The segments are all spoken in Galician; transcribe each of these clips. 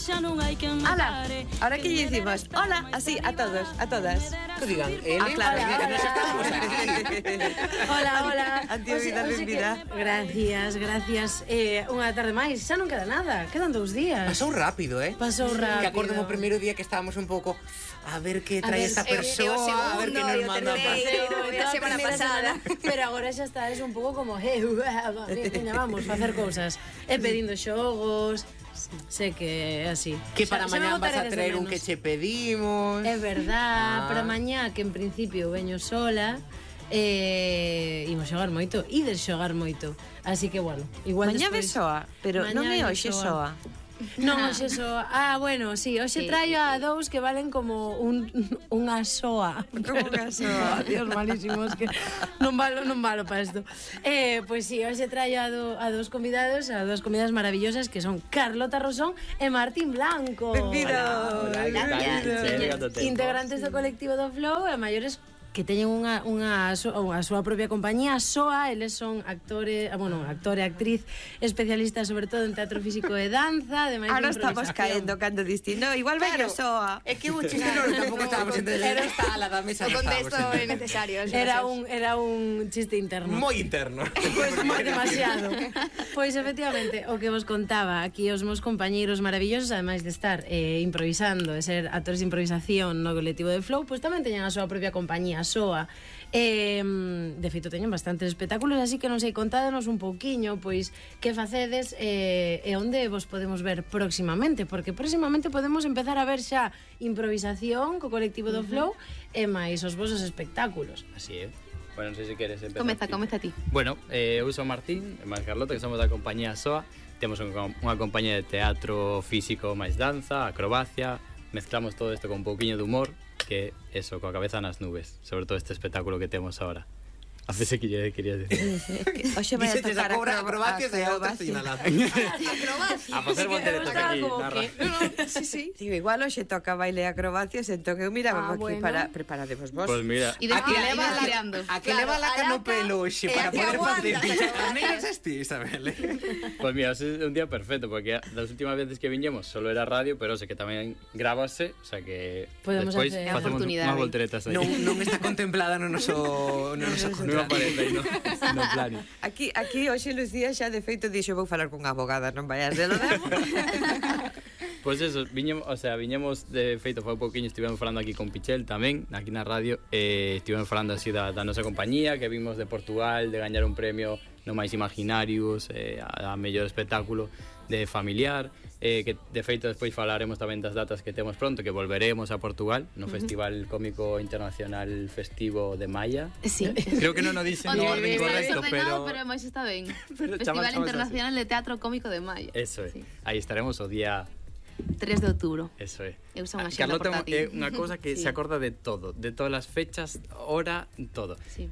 Ala, ahora que lle dicimos hola, así, a todos, a todas. Que digan, claro, que nos estamos aquí. Hola. Antía vida, benvida. Gracias. Unha tarde máis, xa non queda nada. Quedan 2 días. Pasou rápido, Pasou rápido. Que acordo o primeiro día que estábamos un pouco a ver que trae esta persoa, a ver que nos manda a paseo. A semana pasada. Pero agora xa está, es un pouco como vamos, facer cousas. E pedindo xogos. Sé que é así. Que para mañá vas a traer un que che pedimos. É verdad, para mañá que en principio veño sola. Imos xogar moito, ides xogar moito. Así que bueno, igual mañá despois soa, pero non é hoxe soa. Non, hoxe soa. Bueno, sí, hoxe traio a 2 que valen como unha soa. Como unha soa. Dios, malísimos, que non valo para isto. Pois sí, hoxe traio a 2 convidados, a 2 convidadas maravillosas que son Carlota Rosón e Martín Blanco. Benvido. Integrantes do colectivo do Flow e maiores que teñen a súa propia compañía, SOA, eles son actor e actriz especialista sobre todo en teatro físico e danza, ademais ahora de estamos caendo cando distinto, igual claro, SOA. É que o chiste tampouco estábamos entendendo. Está a la da mesa. O contexto é necesario. Era un chiste interno. Moi interno. Pois moi demasiado. Pois efectivamente, o que vos contaba, aquí os meus compañeiros maravillosos, ademais de estar improvisando e ser actores de improvisación no colectivo de Flow, pois tamén teñen a súa propia compañía, SOA. De feito teñen bastantes espectáculos, así que non sei, contádenos un pouquiño pois que facedes e onde vos podemos ver próximamente, porque próximamente podemos empezar a ver xa improvisación co colectivo do Flow e máis os vosos espectáculos. Así é. Bueno, non sei se queres empezar. Comeza ti. Bueno, eu son Martín, e máis Carlota, que somos da compañía SOA. Temos unha compañía de teatro físico máis danza, acrobacia. Mezclamos todo isto con un pouquiño de humor, que eso, coa cabeza nas nubes, sobre todo este espectáculo que temos ahora. Hacese que lle querías decir. Oxe vai a tocar acrobacias e outras señaladas. A facer volteretas aquí na radio. Sí. Digo, igual hoxe toca baile e acrobacias, entón eu miraba aquí para preparadevos vos. Pois mira, A que leva la cano pelo hoxe para poder facer as negras este, Isabel. Pois mira, é un día perfecto, porque das últimas veces que viñemos solo era radio, pero sei que tamén grábase, o sea que podemos despois hacer facemos unhas volteretas aí. Non está contemplada no noso Non aparece aí, no plano. Aquí hoxe Lucía xa de feito dixo vou falar cunha abogada, non vayas de lo demo. Pois eso, viñemos de feito foi un pouquiño, estivemos falando aquí con Pichel tamén, aquí na radio, estivemos falando así da nosa compañía, que vimos de Portugal, de gañar un premio no máis Imaginarius, a mellor espectáculo de familiar, que de feito despois falaremos tamén das datas que temos pronto, que volveremos a Portugal no Festival Cómico Internacional Festivo de Maia. Sí. Creo que non o dixen no orden correcto, pero máis está ben. Pero Festival chamamos Internacional de Teatro Cómico de Maia. eso é. Sí. Aí estaremos o día 3 de outubro. Eso é. Eu son unha xenda Carlota portátil. é unha cousa que Sí. se acorda de todo, de todas as fechas, hora, todo. Sí.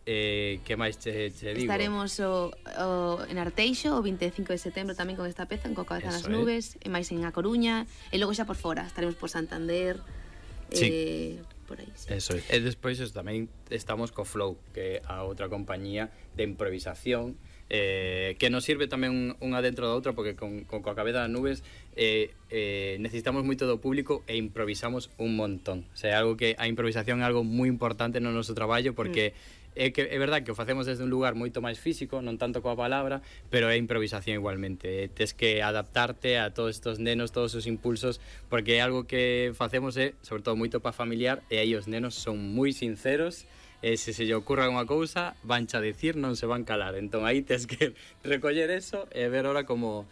Que máis che digo? Estaremos en Arteixo o 25 de setembro tamén con esta peza, en Coa cabeza nas Eso é. nubes, e máis en A Coruña, e logo xa por fora, estaremos por Santander, Sí. por aí, sí. Eso é. E despois tamén estamos co Flow, que é a outra compañía de improvisación, que nos sirve tamén unha dentro da outra, porque con Coa cabeza nas nubes necesitamos moito do público e improvisamos un montón. O sea, algo que a improvisación é algo moi importante no noso traballo, porque é verdad que o facemos desde un lugar moito máis físico, non tanto coa palabra, pero é improvisación igualmente. Tes que adaptarte a todos estos nenos, todos os impulsos, porque é algo que facemos sobre todo moito para familiar, e aí os nenos son moi sinceros, e se lle ocurra unha cousa, vancha a dicir, non se van calar. Entón aí tes que recoller eso e ver ahora como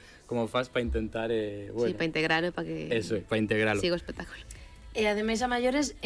faz para intentar bueno. Sí, para integrar, para que eso, para integralo. siga o espectáculo. E ademais a maiores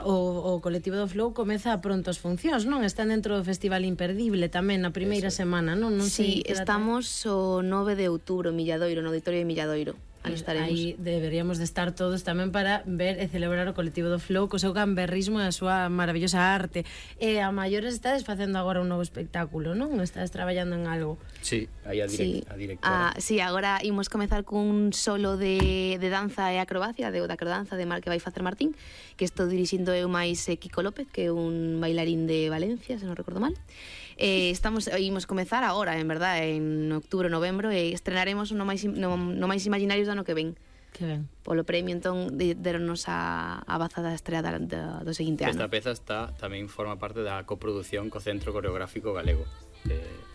o colectivo do Flow comeza pronto as funcións, non? Están dentro do Festival Imperdible tamén na primeira semana, non? Sí, estamos o 9 de outubro en Milladoiro, no Auditorio de Milladoiro. Aí estaremos. Aí deberíamos de estar todos tamén para ver e celebrar o colectivo do Flow co seu gamberrismo e a súa maravillosa arte. E a maiores estades facendo agora un novo espectáculo, non? Estades traballando en algo. Sí, aí a directora. Sí, agora imos comezar cun solo de danza e acrobacia, da acrodanza que vai facer Martín, que estou dirixindo eu máis Kiko López, que é un bailarín de Valencia, se non recordo mal. Imos comezar agora, en verdad, en outubro, novembro, e estrenaremos no máis Imaginarios do ano que ven. Que ben. Polo premio, entón, deronnos a baza da estrea do seguinte ano. Esta peza tamén forma parte da coproducción co Centro Coreográfico Galego.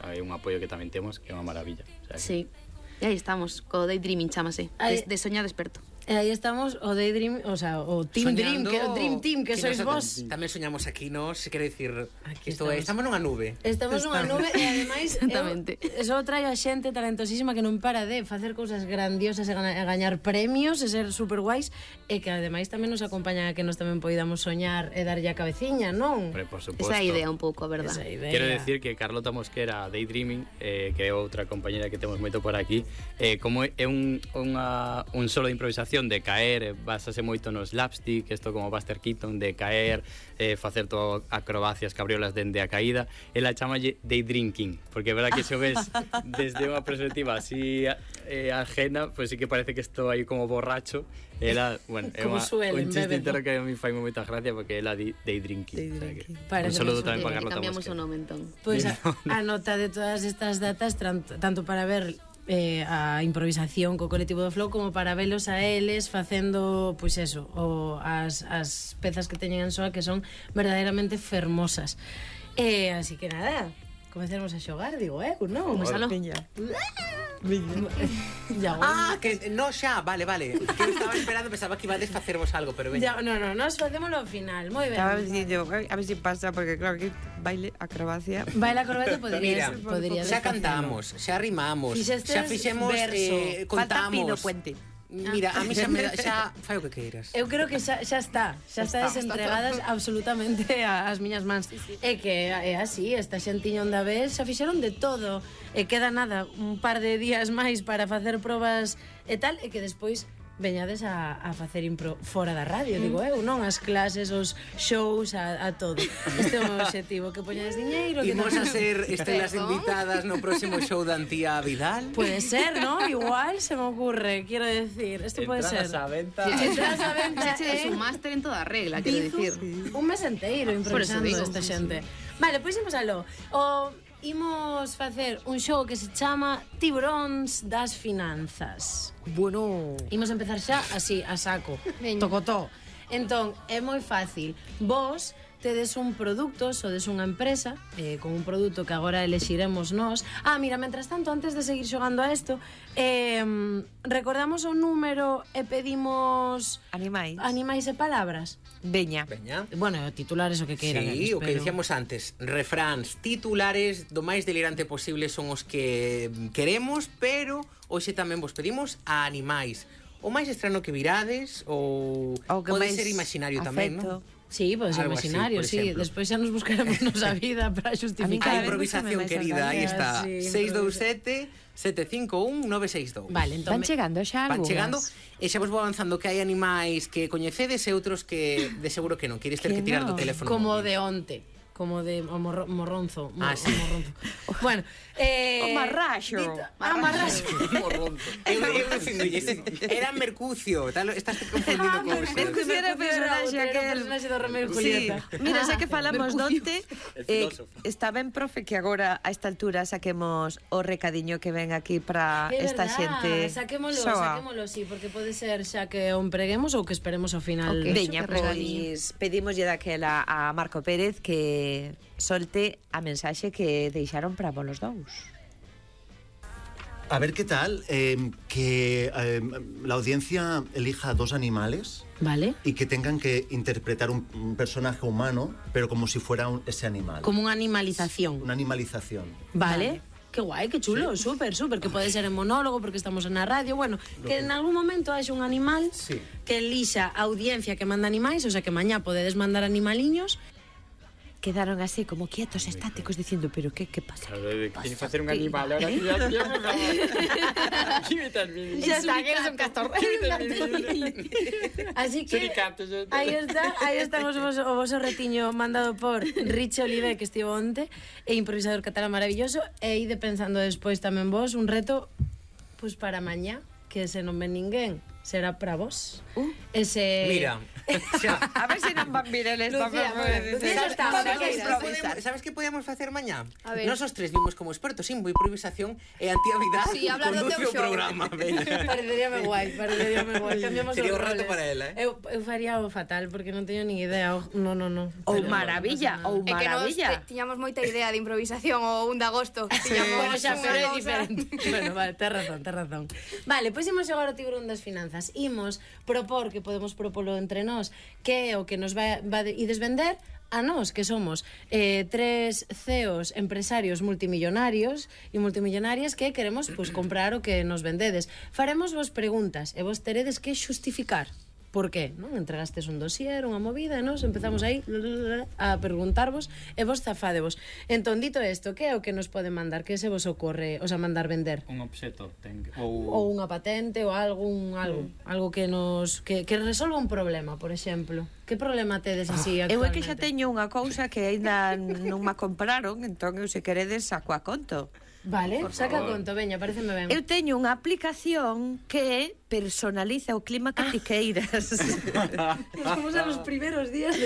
Hai un apoio que tamén temos, que é unha maravilla. O sea, Sí. E aí estamos, co Daydreaming chamase, de soñar desperto. E aí estamos o Daydream, o sea, o Team Dream, que o Dream Team, que sois vos. Tamén soñamos aquí, nos, quero dicir, estamos. estamos nunha nube. Estamos nunha nube e ademais Exactamente. Eso trae a xente talentosísima que non para de facer cousas grandiosas e gañar premios e ser super guais, e que ademais tamén nos acompañan a que nos tamén poidamos soñar e darlle a cabeciña, non? Hombre, por suposto. Esa idea un pouco, a verdad. Esa idea. Quero decir que Carlota Mosquera, Daydreaming, que é outra compañera que temos moito por aquí, como é un solo de improvisación de caer, basase moito no slapstick, isto como Buster Keaton, de caer, facer todo acrobacias, cabriolas dende a caída, ela chamalle Daydrinking, porque é verdad que se o ves desde unha perspectiva así ajena, pues sí que parece que estou aí como borracho. Ela, bueno, é un chiste interno que a mí fai moita gracia porque ela di Daydrinking. Un saludo tamén para Carlota Cambiamos Mosquera. o nome, entón. Pois a nota de todas estas datas, tanto para ver a improvisación co colectivo do Flow como para velos a eles facendo, pois eso, as pezas que teñen en soa, que son verdadeiramente fermosas. Así que nada, comecemos a xogar, digo, non? Comezalo. Que no xa, vale. Que eu estaba esperando, pensaba que iba a desfacervos algo, pero veña. No, nos facémoslo ao final, moi ben. Estaba dicindo, a ver si pasa, porque claro que baile, acrobacia. Baila acrobata podría Xa cantamos, xa rimamos, xa fixemos, Falta Pino contamos. Puente. Mira, a mí xa fai o que queiras. Eu creo que xa está desentregadas absolutamente as miñas mans. É que é así, esta xentiña onde a vez xa fixeron de todo. E queda nada, un par de días máis para facer probas e tal, e que despois veñades a facer impro fora da radio, digo eu, non? As clases, os shows, a todo. Este é o objetivo, que poñades diñeiro. Imos a ser estrelas invitadas no próximo show da Antía Vidal. Puede ser, ¿no? Igual se me ocurre, quiero decir. Esto puede ser. Entradas á venta. Entradas á venta. Es un máster en toda regla, quero dicir. Un mes enteiro improvisando esta xente. Vale, pois imos aló. Imos facer un show que se chama Tiburóns das Finanzas. Bueno. Imos empezar xa así, a saco. Tocotó. Entón, é moi fácil. Vos tedes un produto, sodes unha empresa con un produto que agora elexiremos nós. Mira, mentras tanto, antes de seguir xogando a isto, recordamos o número e pedimos animais e palabras. Veña. Bueno, titulares o que queiran. Sí, o que dicíamos antes, refráns, titulares do máis delirante posible son os que queremos, pero hoxe tamén vos pedimos a animais. O máis estrano que virades ou pode ser imaginario tamén, non? Sí, pode ser imaginario, sí. Despois xa nos buscaremos nosa vida para justificar. A improvisación, querida, aí está. 627-751-962. Vale, entón... Van chegando xa algunhas. Van chegando, e xa vos vou avanzando que hai animais que coñecedes e outros que de seguro que non. Queres ter que tirar do teléfono. Como de onte. Como de morronzo. Sí. Morronzo. Bueno, o marraxo. Marraxo. Morronzo. Eu era Mercucio. Estás confundindo cousas. Mercucio era o personaxe aquel. O personaxe do Romeo e Julieta. Mira, xa que falamos donte, está ben, profe, que agora a esta altura saquemos o recadiño que ven aquí para esta xente. Saquémolo, sí, porque pode ser xa que o empreguemos ou que esperemos ao final. Veña, pois pedimoslle daquela a Marco Pérez que solte a mensaxe que deixaron para vos los dous. A ver qué tal, que la audiencia elija dos animales, ¿vale? Y que tengan que interpretar un personaje humano, pero como si fuera ese animal. Como una animalización. Una animalización. Vale. Qué guai, que chulo, sí. Súper, que pode ser en monólogo porque estamos en a radio, bueno, que en algún momento haxe un animal que elixa a audiencia que manda animais, o sea que mañá podedes mandar animaliños. Quedaron así como quietos, estáticos, diciendo, pero ¿qué pasa? Tiene que facer un animal, ahora que ya Ya está, que eres un castor. Así que aí están o voso retiño mandado por Riche Olive, que estivo onte, e improvisador catalán maravilloso, e ide pensando despois tamén vos un reto, pues para mañá, que se non ven ninguén. será para vos. Ese... Mira, xa. A ver se non van vir eles Lucía, tamén. Lucía xa está. Sabes que podíamos facer mañá? A ver. Nós os tres vimos como expertos en improvisación e Antía Vidal Sí, hablar do conduce teu o show. programa. Pareceríame guai. Cambiamos Sería os un rato roles. para ela, Eu faría o fatal, porque non teño ni idea. No. Ou maravilla, ou É que nos maravilla. tiñamos moita idea de improvisación o 1 de agosto. Bueno, xa, pero é unha cousa- diferente. Bueno, vale, tes razón. Vale, pois imos xogar o tiburón das finanzas. Imos propor, que podemos propolo entre nós, que é o que nos ides vender a nós, que somos tres CEOs empresarios multimillonarios e multimillonarias que queremos comprar o que nos vendedes. Faremos vos preguntas e vos teredes que xustificar. Por qué? Non? Entregastes un dossier, unha movida, nos empezamos aí a preguntarvos e vos zafádevos. Entón, dito isto, que é o que nos pode mandar? Que se vos ocorre, o sea, mandar vender? Un obxeto Ou unha patente ou algo que nos que resolva un problema, por exemplo. Que problema tedes así Eu é actualmente? que xa teño unha cousa que aínda non me compraron, entón eu se queredes saco a conto. Vale, saca conto, veña, pareceme ben. Eu teño unha aplicación que personaliza o clima que ti queiras. Vamos a los primeros días de